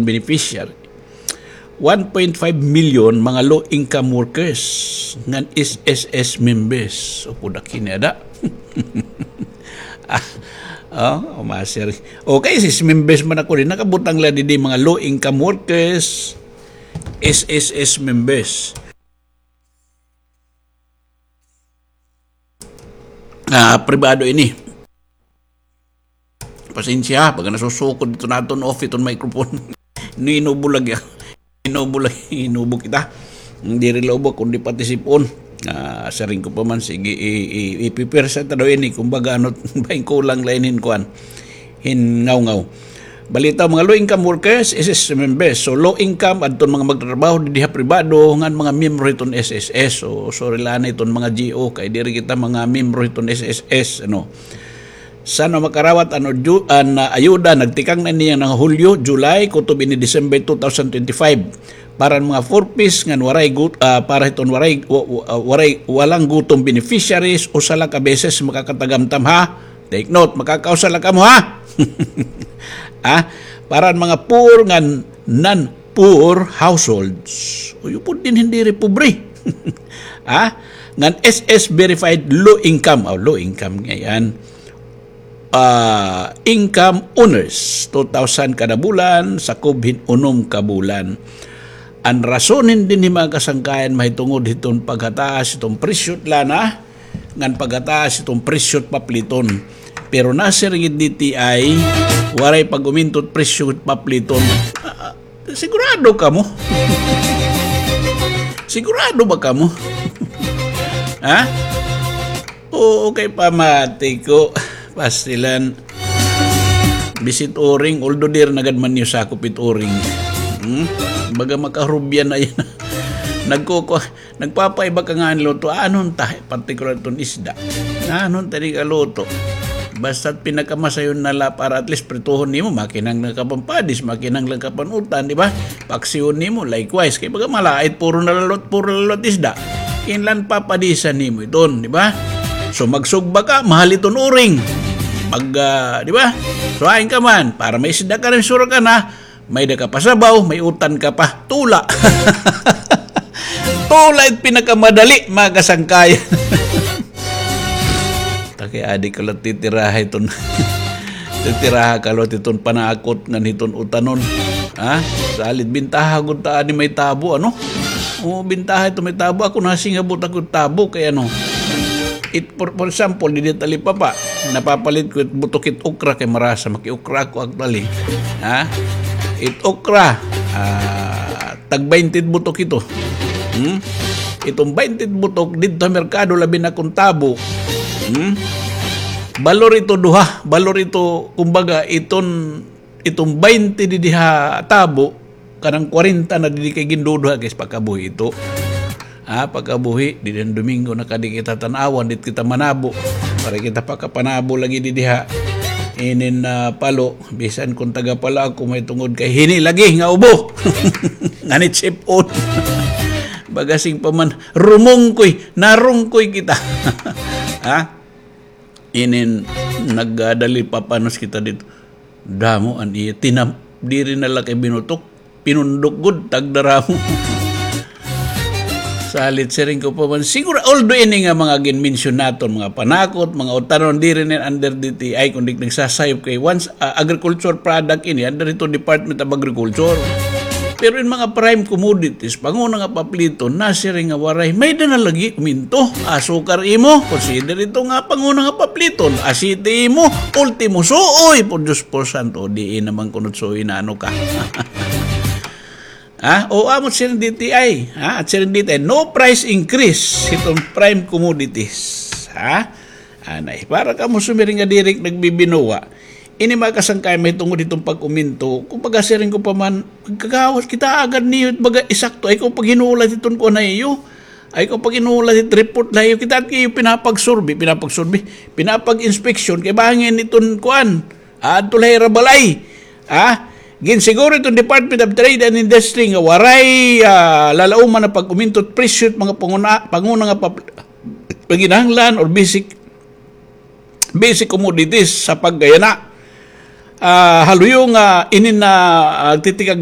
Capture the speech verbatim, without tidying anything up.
beneficiary. One point five million mga low-income workers ngan S S S members. Upod aki ni ada. Ah, oh, masir. Okay, S S S members man ako din. Nakabutang la didi mga low-income workers, S S S members. Ah, pribado ini. Pasensya, pag nasusukod ito naton off iton microphone. Inubo lagi, inubo lagi, inubo kita. Diri la ubo, kundi pati sipon. Ah, siring ko pa man, sige, i-, i-, ipipersa ta daw ini, kumbaga, ano, bahin kulang la ini hin kuan. Hin ngaw-ngaw. Balita, mga low income workers, S S S members. So, low income, adton mga magtatrabaho, didi ha pribado, ngan mga miyembro hiton S S S. So, sorry la ini hiton mga G O, kay diri kita mga miyembro hiton S S S, ano. San makarawat an, an, ah, ayuda, nagtikang na ini nga Hulyo, July, kutob ini December two thousand twenty-five. Para han mga four Ps ngan waray gut-, ah, para hiton waray, wa-, wa-, ah, waray, walang gutom beneficiaries, usa la ka beses makakatagamtam ha. Take note, makakausa la kamo ha. Ah, para han mga poor ngan non-poor households. Uy, upod dinhi diri pobre. Ah, ngan S S verified low income, oh, low income ngay-an. Ah, income earners, two thousand kada bulan, sakob hin unom ka bulan. An rason hin dinhi, mga kasangkayan, mahitungod hiton paghataas hiton presyo hit lana, ngan paghataas hiton presyo hit papliton. Pero nasiring it D T I, waray pag-uminto hit presyo hit papliton. Ah, sigurado kamo? Sigurado ba kamo? Ha? Oo, kay pamati ko. Pastilan. Bisan it uring, although diri na gad man niyo sakop it uring. Hmm? Baga makarubya na yan. Nagkuku-, nagpapaiba ka nga hin luto. Ano ta, partikular iton isda. Ano ta di ka luto. Basta pinakamasayon na la para at least prituhon nimo, makinahanglan ka pa hin padis, makinahanglan ka pa hin utan, di ba? Paksiwon nimo, likewise. Kay baga malait, puro na la luto, puro na la luto isda. Kinahanglan papadisan nimo iton, di ba? So, magsugba ka, mahal iton uring. Pag, ah, di ba? So, hain ka man, para may isda ka rin, sure ka na, may-ada ka pa sabaw, may utan ka pa. Tula. Tula it pinakamadali, mga kasangkayan. Taki, adi ka la titiraha iton. Titiraha ka la hiton panakot ngan hiton utanon. Ha? Salit bintaha gud ta ani may tabo, ano? O, bintaha ito may tabo. Ako, nasingabot ako tabo kay ano. It, for, for example, didi talipapa, napapalit ko it butok it okra kay marasa, maki-okra ako actually. Ha? It okra, ah, tag baynte it butok ito. Hmm? Iton baynte it butok didto ha merkado, labi na kon tabo. Hmm? Balor ito duha, balor ito, kumbaga, iton, iton baynte didi ha tabo, kanang kwarenta na didi kay ginduduha, guys, pagkabuhi ito. Ha, pagkabuhi, didi han Domingo na kadi kita tan-awan, didto kita manabo. Para kita pakapanabo lagi didi ha. Inin, ah, palo, bisan kon taga palo ako, mahitungod kay hini lagi nga ubo. Nganit sipon. Baga siring pa man, rumungkoy, narungkoy kita. Ha? Inin, nagdali papanos kita didto. Damo an iya, tinam-, diri na la kay binutok. Pinundok gud, tagdaramo. Salit, siring ko pa man. Siguro, although ini nga mga ginmensyon naton, mga panakot, mga utanon, diri na under D T I, kundi nagsasayop kay once, ah, agriculture product ini, under ito Department of Agriculture. Pero in mga prime commodities, panguna nga papliton, nasiring nga waray, may-ada na lagi uminto. Asukar imo, consider ito nga panguna nga papliton. Asiti imo, ultimo suoy, por Diyos, por santo, diin naman kunot suoy na ano ka. Ha? O, amo siring D T I, ha? At siring D T I, no price increase hiton prime commodities. Ha? Anay, para kamo sumiring nga diri nagbibinuwa. Ini mga kasangkay, mahitungod hiton pag-uminto. Kumbaga, siring ko pa man, kagawas, kita agad niyo, baga, isakto, ay ko paghinulat hiton kuan ha iyo. Ay ko paghinulat hit report ha iyo. Kita at kayo pinapagsurvey, pinapagsurvey, pinapag-inspeksyon, kay bangin iton kuan. Adto la hira balay. Ha? Ginsiguro iton Department of Trade and Industry nga waray, ah, lalauman nga pag-uminto hit presyo hit mga panguna, panguna nga pap-, panginahanglan or basic, basic commodities sa pagkayana. Ah, haluyo nga inin na, ah, titikag